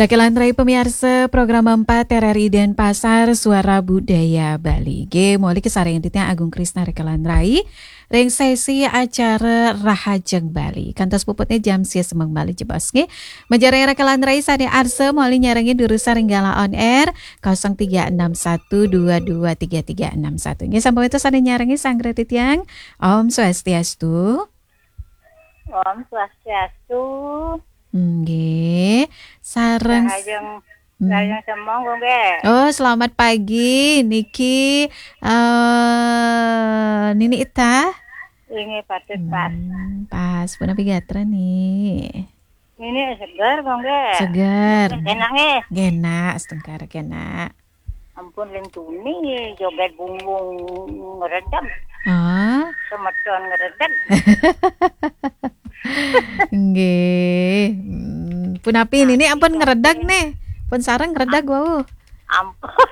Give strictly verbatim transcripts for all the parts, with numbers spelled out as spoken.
Rekan Rai pamiarsa program empat R R I Denpasar, Suara Budaya Bali. Nggih, muli kasarengin titiang Agung Krisna rekan Rai ring sesi acara Rahajeng Bali. Kantos puputne jam sia semeng malih jebos nggih. Majeng rekan Rai sane arsa muli nyarengin durusang ring galah on air kosong tiga enam satu dua dua tiga tiga enam satu. Nggih, sampun wenten sane nyarengin sareng titiang. Om Swastiastu. Om Swastiastu. Nggih, sareng Rahajeng, Hmm. rahajeng semeng, nggih. Oh, selamat pagi. Niki eh Nini Ita. Inggih, patut, Pak. Hmm, pas. Punapi gatra, Ni? Nini seger, nggih. Seger. Enak, nggih. Nggih, enak, setengkar, nggih, enak. Ampun, ling tuni joget bungbung ngredeg. Ah. Semeton ngredeg. Nggih. Hmm, punapi Nini ampun ngredeg, nggih. Pun sareng ngredeg wau. Ampun.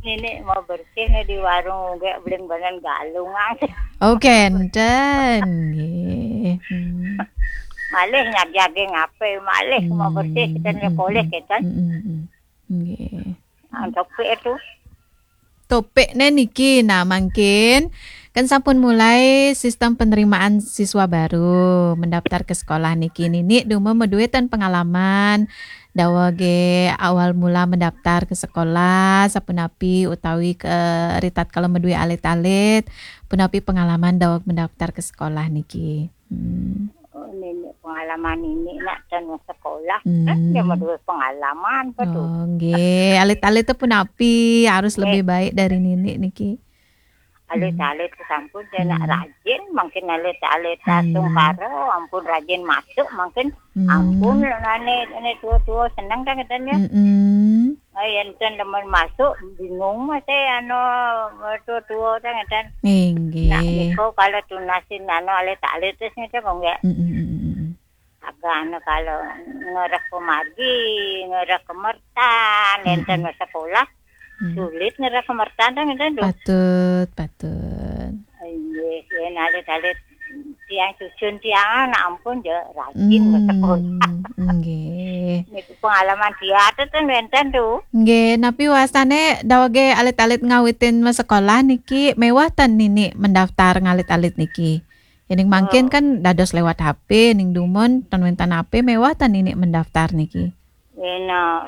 Nini mau bersih nih di warung, nggih, beli banan galungan. Oh, kenten. Nggih. Hmm. Malih nyajage ngape, malih mau bersih, kita nih polih, kita. Hmm, hmm, hmm. Nggih. Ah, topik itu. Topikne niki, nah, mangkin kan sampun mulai sistem penerimaan siswa baru mendaftar ke sekolah niki. Nini dumun madue ten pengalaman dawege awal mula mendaftar ke sekolah, sapunapi utawi ke ritatkala madue alit-alit, punapi pengalaman daweg mendaftar ke sekolah niki? Hmm. Oh, nini pengalaman nini nak ten sekolah. Hmm. Kan dia madue pengalaman, betul. Oh, nggih. Alit-alit te punapi harus Nggih. lebih baik dari nini niki? Alit-alit sampun dia nak Hmm. rajin, mangkin alit-alit Hmm. dateng karo, ampun rajin masuk, mangkin Hmm. ampun nane, nane tua-tua seneng kan katanya. Mm-mm. Ah, yen ten demen masuk, bingung masih anu, tua-tua kan katanya. Inggih. Nak niko kalau tunasin anu alit-alit terus ngetek kok nggak? Mm-mm, mm-mm, mm-mm. Agak anu kalau ngerek pemargi, ngerek kemertan, enten Mm-mm. sekolah, Mm. sulit ngerek kemertan kan enten tuh. Patut, patut. Inggih, yen alit-alit tiang susun tiang anak ampun ya rajin ke sekolah. Hmm, nggih. Niku pengalaman dia tuh ten enten tuh. Nggih, napi wasane dawege alit-alit ngawitin sekolah niki mewah ten nini mendaftar ngalit-alit niki? Yening mangkin Oh. kan dados lewat H P, ning dumun ten wenten H P mewah ten nini mendaftar niki. Yen, eh,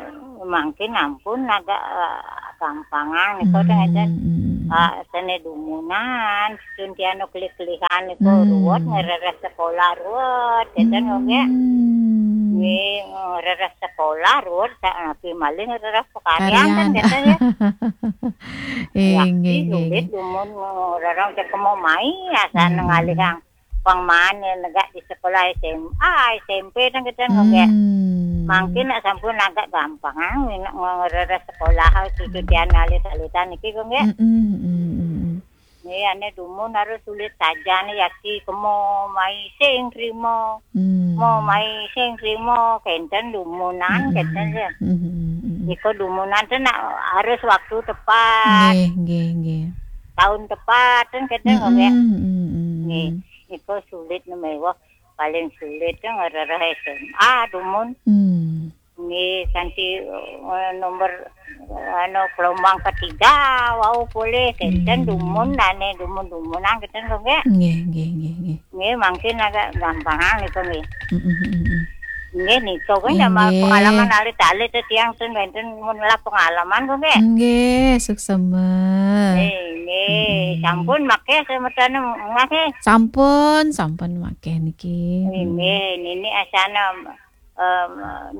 mangkin ampun agak, eh, gampangan niku Hmm, ten ngeten. hmm. Ah, sene dumunan, sun tianu kelih-kelihan niku Hmm. ruwet ngereres sekolah ruwet, ngeten kok, nggih. Hmm. Nggih, ngereres sekolah ruwet, sak napi malih ngereres pekaryan kan Karyan. ngeten ya. Eh, Yakti nggih, nggih, sulit nggih. dumun ngereres cek kemo mai, asal Hmm. ngalihang pang mane negak di sekolah S M A, S M P kan kita nggak. Hmm. Mangkin nak sampun agak gampang, ah, nak ngereres sekolah, cucu tian alit-alitan niki kok nggih. Mm-mm, mm-mm, mm-mm. Nggih, ane dumun harus sulit saja nih, yakti kemo mai sing trimo. Hmm. Mau mai sing trimo, kenten dumunan, Mm-mm, kenten ya. Mm-mm, mm-mm. Iko dumunan tuh nak harus waktu tepat. Nggih, nggih, nggih. Tahun tepat, kan kenten kok nggih. Mm-mm, mm-mm, mm-mm. Nggih. Iko sulit nih mewah. Paling sulit tuh ngereres S M A dumun. Hmm. Nggih, kanti, eh, nomor, eh, anu, gelombang ketiga, wau polih, kenten Hmm. dumun, ane dumun-dumunan, kenten kok nggih. Nggih, nggih, nggih, nggih. Nggih, mangkin agak gampangan niku nggih. Mm, mm, mm, mm. Nggih, niku kan Nggih, sama nggih. pengalaman alit-alit teh tiang ten wenten mun lah pengalaman kok nggih. Nggih, suksema. Nggih, nggih. Mm. Sampun maké semeton nggih. Sampun, sampun maké niki. Nggih, Mm. nggih, nini asana, em,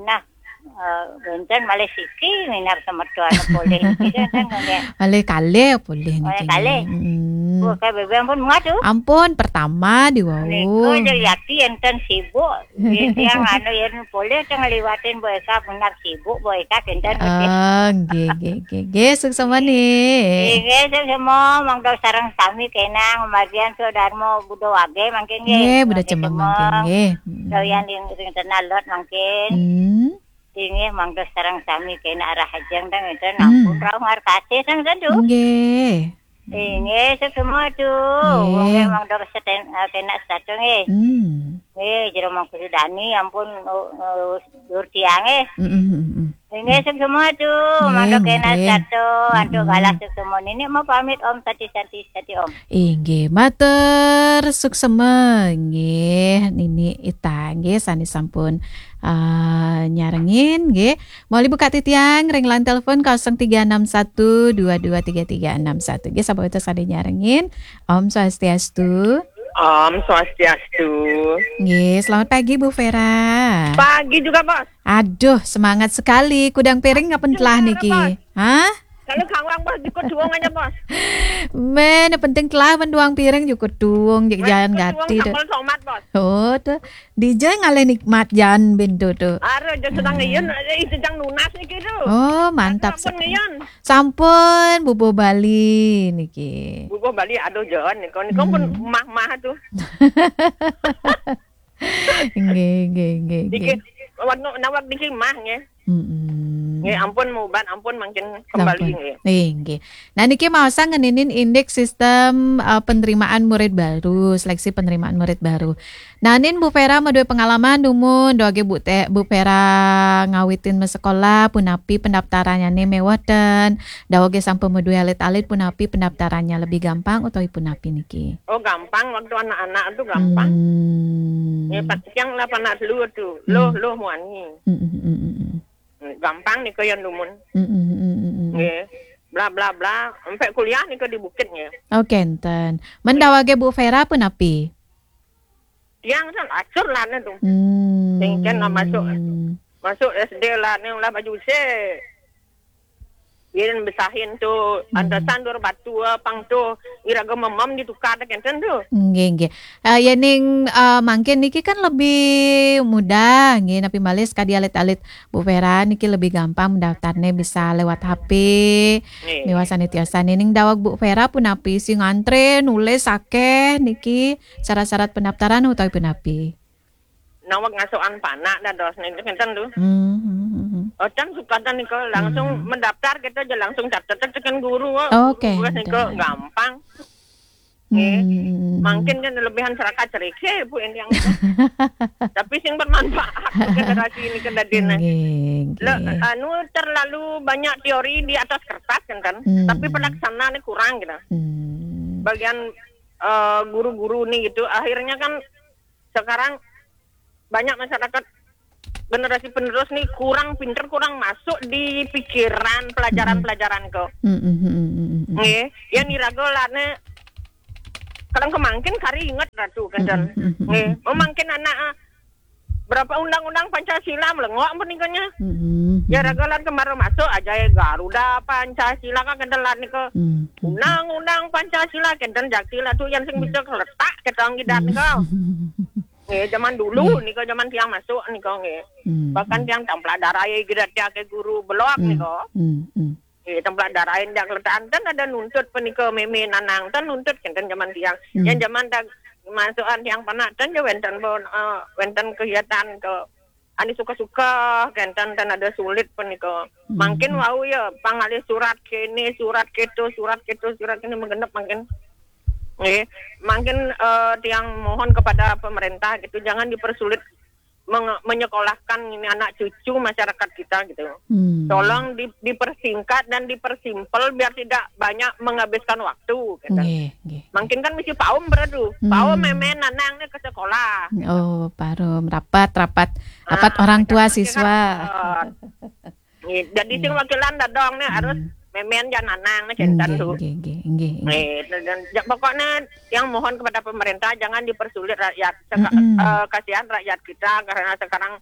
nah, eh, wenten malih siki minab semeton polih niki kan nggih. Malih kalih polih Malih niki. kalih. Mm. Bu, kayak bebe ampun muat tuh. Ampun, pertama di wau. Niku aja yati enten sibuk. Nggih, tiang anu yen polih teng ngliwatin Bu Eka benar sibuk, Bu Eka kenten. Oh, nggih, nggih, nggih. Nggih, suksema nih. Nggih, suksema, monggo sareng sami kenang, margian Sudarmo Budo Wage mangkin nggih. Nggih, Budo Mangkin Cemeng Cemeng. mangkin nggih. Mm. Doyan ring, ring tenah lot mangkin. Hmm. Nggih, monggo sareng sami kena arah ajeng teng enten Hmm. ampun rauh ngarkasih teng tentu. Nggih. Inggih, suksma tu. Nggih. Wong memang terus seten, eh, kena satu nggih. Hmm. Nggih, jero mangku Sudani, ampun, oh, oh, dur tiang nggih. Mm, mm, mm, mm. Inggih, suksma tu. Nggih, mangda kena nggih. Satu, antuk, mm-mm, galah suksma. Nini mau pamit Om, sati-sati, sati Om. Inggih, matur suksma nggih, Nini Ita nggih, sane sampun, eh, nyarengin nggih. Malih buka titiang ring line telepon kosong tiga enam satu dua dua tiga tiga enam satu. Nggih, sapa itu sane nyarengin? Om Swastiastu. Om Swastiastu. Nggih, selamat pagi Bu Vera. Pagi juga, Bos. Aduh, semangat sekali. Kudang piring ngapen telah niki? Hah? Kalau kawang, Bos, jukut duwung aja, Bos. Men, penting telah men duwung piring jukut duwung, jek jalan jukut duwung gati tu. Sambel tomat, Bos. Oh, tu. Dija ngalih nikmat jan bintu tu. Are, jan sedang ngeyun, eh, itu jang nunas niki tu. Oh, mantap sekali. Sampun ngeyun. Sampun, bubuh Bali niki. Bubuh Bali, aduh, jan niku, niku pun mah-mah tu. Nggih, nggih, nggih, nggih. Niki, nawak niki mah nggih. Mm-mm. Nggih, ampun muban, ampun mangkin kembali nggih. Nggih, nggih. Nah, niki maosang ngeninin indik sistem, eh, penerimaan murid baru, seleksi penerimaan murid baru. Nah, nin Bu Vera madue pengalaman dumun, dawage Bu Te-, Bu Vera ngawitin masekolah, punapi pendaftarannyane meweh ten, dawage sampun madue alit-alit, punapi pendaftarannya lebih gampang utawi punapi niki? Oh, gampang waktu anak-anak tu gampang. Hmm. Ya, pas yang lah panak dulu tu, loh, hmm, loh muani. Hmm, hmm, hmm, hmm, hmm. Gampang nika yan dumun. Hmm, hmm, hmm, hmm, hmm. Nggih. Bla, bla, bla, sampai kuliah nika di Bukit nggih. Oh, kenten. Men dawage Bu Vera punapi? Tiang san acur lah ne tu. Hmm. Sing ken lah masuk, masuk S D lah ne ulah baju se. Yen besahin tu, hmm, antasan dur batu, eh, pang tu, iraga memem ditukar kenten tu. Nggih, nggih. Eh, yening, eh, mangkin niki kan lebih mudah, nggih, napi malih sakadi alit-alit Bu Vera niki lebih gampang mendaftarne bisa lewat H P. Nggih. Miwah sane tiosane ning daweg Bu Vera punapi sing ngantre nulis akeh niki syarat-syarat pendaftaran utawi punapi? Naweg ngasukan panak dados niki kenten tu. Hmm, hmm, hmm, hmm. Oh, can sukatan nika langsung, hmm, mendaftar kita aja langsung catet tekan guru. Oh, oke, guru nika gampang. Nggih. Hmm. Mangkin kan lebihan seraka cerike, Bu, ini yang tapi sing bermanfaat generasi ini kan dadine. Nggih, nggih. Le, anu, terlalu banyak teori di atas kertas kan, kan? Hmm. Tapi pelaksanaan kurang gitu. Hmm. Bagian, eh, guru-guru nih gitu, akhirnya kan sekarang banyak masyarakat generasi penerus nih kurang pinter, kurang masuk di pikiran pelajaran-pelajaran ke. Mm, mm, mm, mm, mm, mm. Nggih, ya niraga lane kadang kemangkin kari inget ratu kenten. Mm, mm, mm, mm, nggih, mm, mm. Memangkin anak, ah, berapa undang-undang Pancasila melengok apa nikahnya? Mm, mm, mm. Ya raga lan kemarin masuk aja ya Garuda Pancasila kan kenten lan nika. Mm, mm, mm. Undang-undang Pancasila kenten jakti lah tu yang sing bisa keletak ketang gidat nika. Nggih, zaman dulu nika, zaman tiang masuk nika nggih. Hmm, bahkan hmm. Tiang templak darai gida tiang ke guru belok nika. Hmm, hmm. Nggih, templak darai tiang letak enten ada nuntut penika meme nanang ten nuntut kenten zaman tiang. Hmm. Yang zaman tak masukan tiang panak ten je wenten pun, eh, wenten kegiatan ke ani suka-suka kenten ten ada sulit penika. Hmm. Mangkin wau ya pangalih surat kene, surat keto, surat keto, surat kene menggenep mangkin. Nggih, mangkin, eh, tiang mohon kepada pemerintah gitu, jangan dipersulit menge-, menyekolahkan ini anak cucu masyarakat kita gitu. Hmm. Tolong di-, dipersingkat dan dipersimpel biar tidak banyak menghabiskan waktu gitu. Nggih, nggih. Mangkin kan mesti paum beradu. Hmm. Paum memen nanang ni ke sekolah. Oh, parum rapat, rapat, ah, rapat orang tua siswa. Kan, eh, Nggih, jadi sing wakilan dadong ni harus memen jan nanang ni kenten tu. Nggih, nggih, nggih, nggih. Nggih, dan, ja-, pokoknya yang mohon kepada pemerintah jangan dipersulit rakyat. Seka-, eh, kasihan rakyat kita karena sekarang,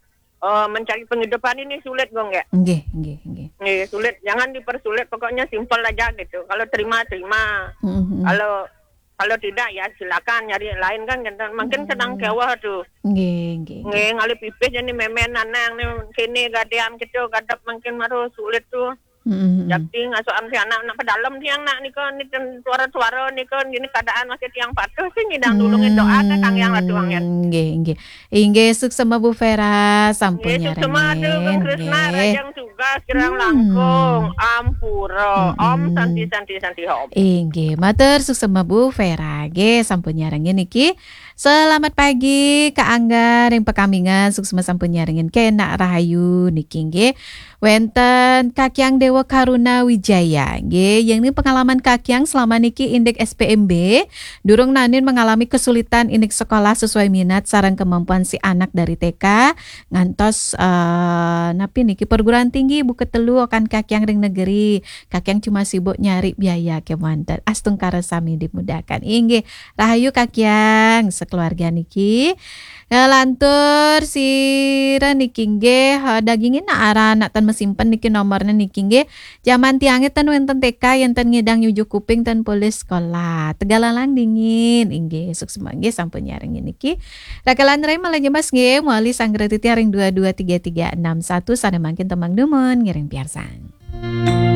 eh, mencari penghidupan ini sulit, Gong, ya. Nggih, nggih, nggih. Nggih, sulit. Jangan dipersulit, pokoknya simpel aja gitu. Kalau terima, terima. Mm-mm. Kalau Kalau tidak, ya silakan nyari yang lain kan, kenten. Mangkin sedang keweh tu. Nggih, nggih, nggih. Nggih, ngalih pipih jani memen nanang ni, kene gadean kita, gadap mangkin maru sulit tu. Mm-mm. Jakti ngasukan si anak nak pedalem tiang nak nika, ni ten suara-suara nika, ini keadaan masih tiang patuh sih nyidang dulu ngedoa ke kang yang ratu angin. Nggih, nggih. Inggih, suksema Bu Vera, sampun Nggih, suksema nyarengin. Agung Krisna, Nggih. Rajang Tugas, Kirang Hmm. Langkung, Ampura, Om Mm-mm. Santi Santi Santi Om. Inggih, matur suksema Bu Vera nggih, sampun nyarengin niki. Selamat pagi Kak Angga ring Pekamingan, suksema sampun nyarengin, kenak rahayu niki nggih. Wenten Kakyang Dewa Karuna Wijaya nggih, yang ini pengalaman Kakyang selama niki indik S P M B, durung nanin mengalami kesulitan indik sekolah sesuai minat sareng kemampuan si anak dari T K ngantos eh, napi niki perguruan tinggi buka telu akan Kakyang ring negeri. Kakyang cuma sibuk nyari biaya kemanten. Astungkara sami dimudahkan. Inggih, rahayu Kakyang sekeluarga niki. Ngelantur sira niki nggih, eh, dagingin nak aran nak tan mesimpen niki nomornya niki nggih. Zaman tiangnya tan wenten T K yang tan ngidang nyujuk kuping tan polih sekolah. Tegalalang dingin. Inggih, suksema nggih sampun nyarengin niki. Rakalan rai malah nyemas nggih, muali sanggra titiang ring dua dua tiga tiga enam satu, sane mangkin tembang dumun ngiring piarsang.